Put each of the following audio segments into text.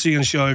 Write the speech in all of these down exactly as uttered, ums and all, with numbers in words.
Anseo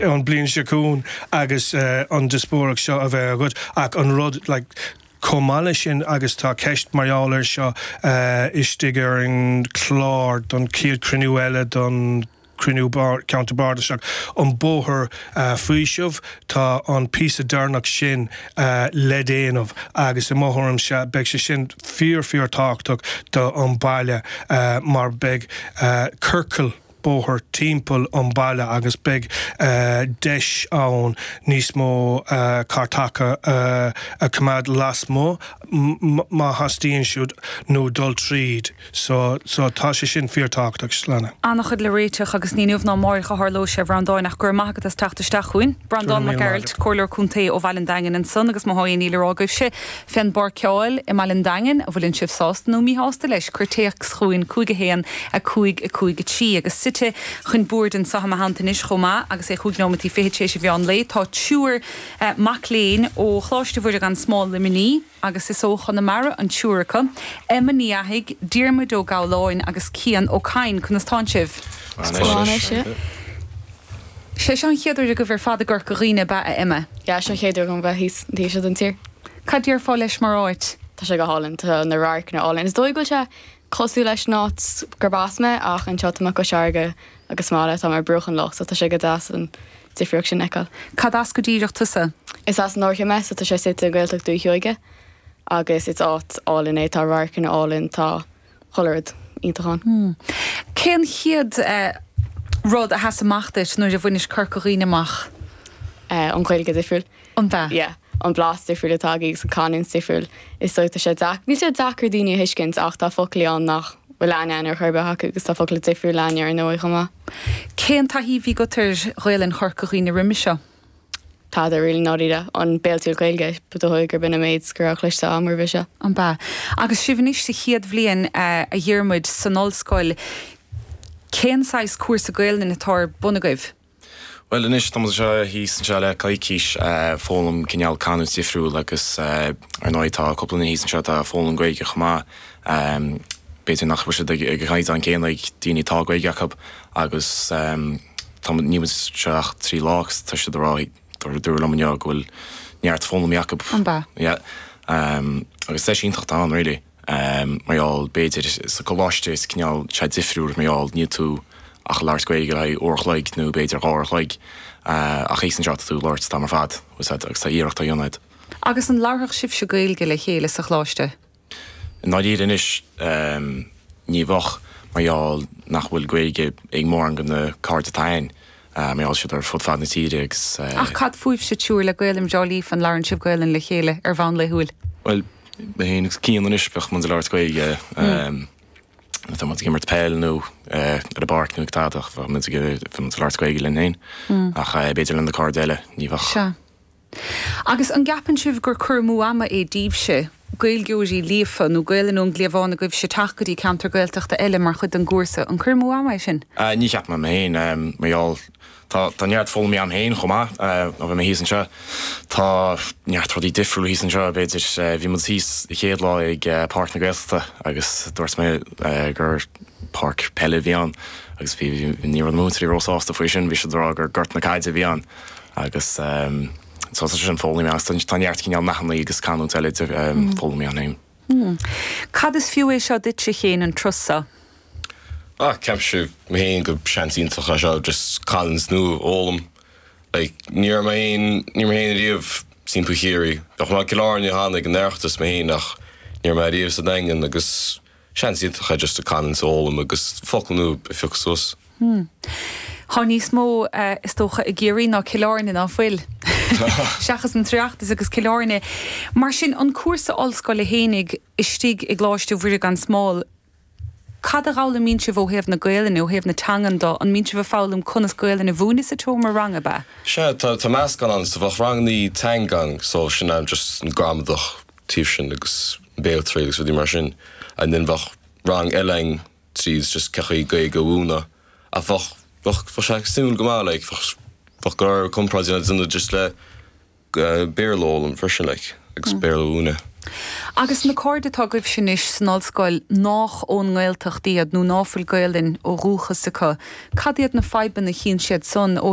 an bliain seo chugainn agus uh, an díospóireacht seo a bheith agat ach an rud like, chomh maith leis sin agus tá ceist mar gheall air seo uh, istigh ar an chlár don chéad cruinniú eile don cruinniú ceantar bardasach an bóthar uh, faoiseamh tá an píosa deireanach sin uh, le déanamh agus i mo thuairimse beidh sé sin fíor fíor tábhachtach do an baile uh, mar beidh uh, ciorcal bóthar timpeall an baile agus beidh uh, deis ann níos mó uh, cairteacha uh, a choimeád lasmuigh má theastaíonn siad nó dul tríd so, so tá sé sin fíorthábhachtach slána. An-chuid le réiteach agus ní inniu ná amárach a tharlóidh sé Breandán ach go raibh maith agat as teacht isteach chugainn. Breandán Mac Gearailt Comhairleoir Contae ó Bhaile an Daingin ansan agus má tá ní rágah sé fén bpáirceáil i mBaile an Daingin an bhfuil sibh sásta nó míshásta leis cuir téacs chugainn cúig a haon a cúig a cúig a trí agus suite chun boird anseo i mo theannta anois chomh maith agus é chúig nóiméad fiche tar éis an mheán lae tá triúr eh, mac léinn ó Choláiste Mhuire gan Smál Luimnigh agus is ó Chonamara an triúr acu, Emma Ní Fhathaigh, Diarmuid Ó Gabhláin agus Cian Ó Cadhain conas tánn sibh. Sé an chéad uair agaibh ar fad i gCorca Dhuibhne ab ea a Emma. Ja seo chéad uair dom bheith thíos thíos den tír. Cad déarfá leis mar áit? Tá sé go hálainn tá na radharcanna álainn. Is dóigh go bhfuil sé cosúil leis an áit gurb as mé ach anseo tá mé cois farraige agus mála tá mar bruach an loch, so tá sé go deas an difríocht sin a fheiceáil. Cad as go díreach tusa? Is as an Iarthar mé so tá sé suite i nGaeltacht Dúiche Sheoige agus is áit álainn é tá radharcanna álainn tá chuile rud iontach ann. Hmm. Cén chéad uh, rud a sheas amach duit nuair a bhainis Corca Dhuibhne amach? Uh, an Ghaeilge difriúil. An bea? Yeah. an blas difriúil atá agus an canúint difriúil is so tá sé deac. Níl sé deacair daoine a thuiscint ach tá foclaí ann nach bhfuil aithne ar chor ar bith acu agus tá focla difriúil againne ar ndóigh chomh maith. Cén taithí a bhí agat ar Ghaelainn Chorca Dhuibhne roimhe seo? Tada really ndáiríre an béaltriail Gaeilge ba dóigh gur b'in an méid go raibh cloiste agam roimhe seo. An bea. Agus sibh anois sa chéad bhliain uh, a Dhiarmuid san ollscoil, cén saghas cúrsa Gaelainne atá ar bun agaibh? Well anois tá seo thíos anseo le coicís foghlaim cineál canúint difriúil agus ar ndóigh tá cúpla duine thíos anseo tá foghlaim Gaeilge chomh maith. B'fhéidir nach bhfuil siad ag ag an chéanna ag daoine tá Gaeilge acu agus tá ní seo ach trí lá tá siad rá dúradh liom inniu go bhfuil neart foghlaim acu. An bea? Yeah. Um, agus sé iontach an really. Um, mar gheall b'fhéidir sa choláiste is cineál sé difriúil mar gheall níl tú ach labhairt Gaeilge le uair a chloig nó b'fhéidir dhá uair a chloig uh, ach thíos anseo tú labhairt tá mar fad agus tá iarracht á dhéanamh. Agus an labhródh sibhse Gaeilge le chéile sa choláiste? Ndáiríre anois um, ní bheadh mar gheall nach bhfuil Gaeilge ag mórán de na cairde atá againn. Uh, mar gheall siad ar fud fad na tíre agus uh, Ach cad fúibhse triúr le Gaelainn breá líofa an labhrann sibh Gaelainn le chéile ar bhonn laethúil? Well mé féin agus Cian anois bheadh muid ag labhairt Gaeilge um, Tá muid ag imirt peil nó ar an bpáirc nó ag tadach bheadh muid ag labhairt Gaeilge linn féin ach b'fhéidir le na cairde eile ní bheadh. Sea. Agus an gceapann sibh gur cur amú ama é daoibhse Gaeilgeoirí líofa nó Gaelainn ón gcliabhán agaibhse teacht go dtí ceantar Gaeltachta eile mar chuid den gcúrsa an cur amú ama é sin? Uh, ní cheapaim mé féin um, mar gheall tá tá neart foghlaim agam féin chomh maith ó bhí mé thíos anseo. Tá neart rudaí difriúil thíos anseo b'fhéidir bhí muid thíos an chéad lá ag Páirc na Gaeltachta agus dúirt mé gur páirc peile a bhí ann agus bhí ní raibh na múinteoirí róshásta faoi sin bhí siad ag rá gur gort na caide a bhí ann agus um, so tá sin foghlaim agus tá neart cineál nathanna agus canúint eile um, foghlaim agam féin. Hmm. Cad is fiú é seo duitse féin an turas seo? Ah, ceapaim mé féin go seans iontach é seo just canúint nua a fhoghlaim. Like, ní raibh mé féin ní raibh mé féin riamh timpeall Chiarraí. Bheadh mé Cill Airne cheana ag an Oireachtas mé féin ach ní raibh mé riamh sa Daingean agus seans iontach é just a canúint a fhoghlaim agus focal nua a phiocadh suas. Hmm. Tá níos mó uh, is dócha i gCiarraí ná Cill Airne ná fuil. Seachas an tOireachtas agus Cill Airne. Mar sin an cúrsa ollscoile fhéinig istigh i gColáiste Mhuire gan Smál, Cad a fhoghlaimíonn sibh ó thaobh na Gaelainne ó thaobh na teangan de an mbíonn sibh ag foghlaim conas Gaelainn a mhúineadh sa tseomra ranga ab ea. Sea tá tá meascán ann so bheadh ranganna teanga ann so sin am just an gramadach taobh sin agus béaltriail agus rudaí mar sin and then bheadh rang eile ann tríd just cén chaoi Gaeilge a mhúineadh a bheadh bheadh bheadh sé suimiúil go maith like bheadh bheadh go leor comparáid déanamh just le uh, Béarla a fhoghlaim freisin like agus Béarla a mhúineadh. Agus na cairde atá agaibhse anois san ollscoil nách ón nGaeltacht iad nó ná fuil Gaelainn ó dhúchas acu, cad iad na fadhbanna a chíonn siad san ó